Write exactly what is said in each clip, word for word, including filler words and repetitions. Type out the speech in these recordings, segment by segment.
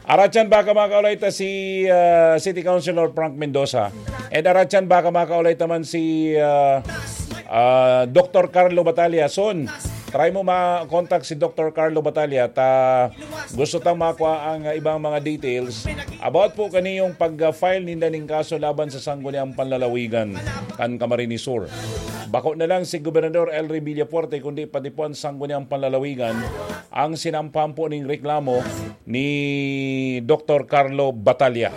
Aratyan baka makaulay ta si ah, City Councilor Frank Mendoza. And aratyan baka makaulay ta man si ah, ah, Doktor Carlo Batalla. Son, try mo ma-contact si Doktor Carlo Batalla ta gusto tang makuha ang ah, ibang mga details about po kaniyong pag-file ninda ning kaso laban sa Sangguniang Panlalawigan kan Camarines Sur. Bako na lang si Gobernador Elry Villafuerte kundi pati po ang Sangguniang Panlalawigan ang sinampahan po ning reklamo ni Doktor Carlo Batalla.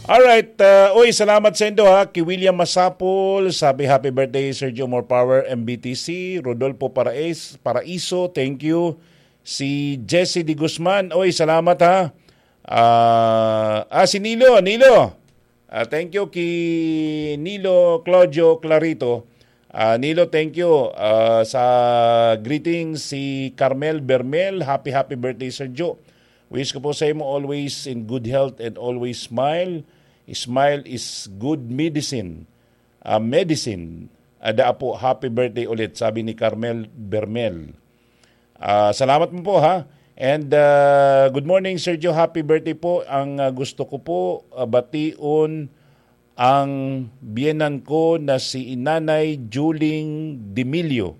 Alright, uh, oy, salamat sa indo ha. Ki William Masapol, sabi, "Happy birthday, Sergio, more power, M B T C." Rodolfo Parais, Paraiso, thank you. Si Jesse de Guzman, oy, salamat ha. Ah, ah, si Nilo, Nilo. Ah, thank you ki Nilo Claudio Clarito. Ah, Nilo, thank you. Ah, sa greetings, si Carmel Bermel, happy, happy birthday, Sir Joe. Wish ko po sa imo always in good health and always smile. Smile is good medicine. Ah, medicine. Ada po, happy birthday ulit, sabi ni Carmel Bermel. Ah, salamat mo po, ha. And ah, good morning, Sergio. Happy birthday po. Ang ah, gusto ko po ah, bation ang biyenan ko na si Nanay Juling Dimilio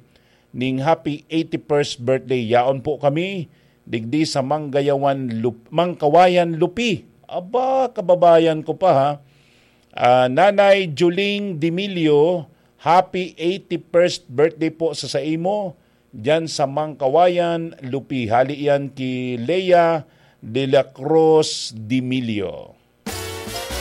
ning happy eighty-first birthday. Yaon po kami digdi sa Manggayawan Lup- Mangkawayan Lupi. Aba, kababayan ko pa ha. Ah, Nanay Juling Dimilio, happy eighty-first birthday po sa saimo diyan sa Mangkawayan Lupi. Hali yan ki Lea de la Cruz Dimilio.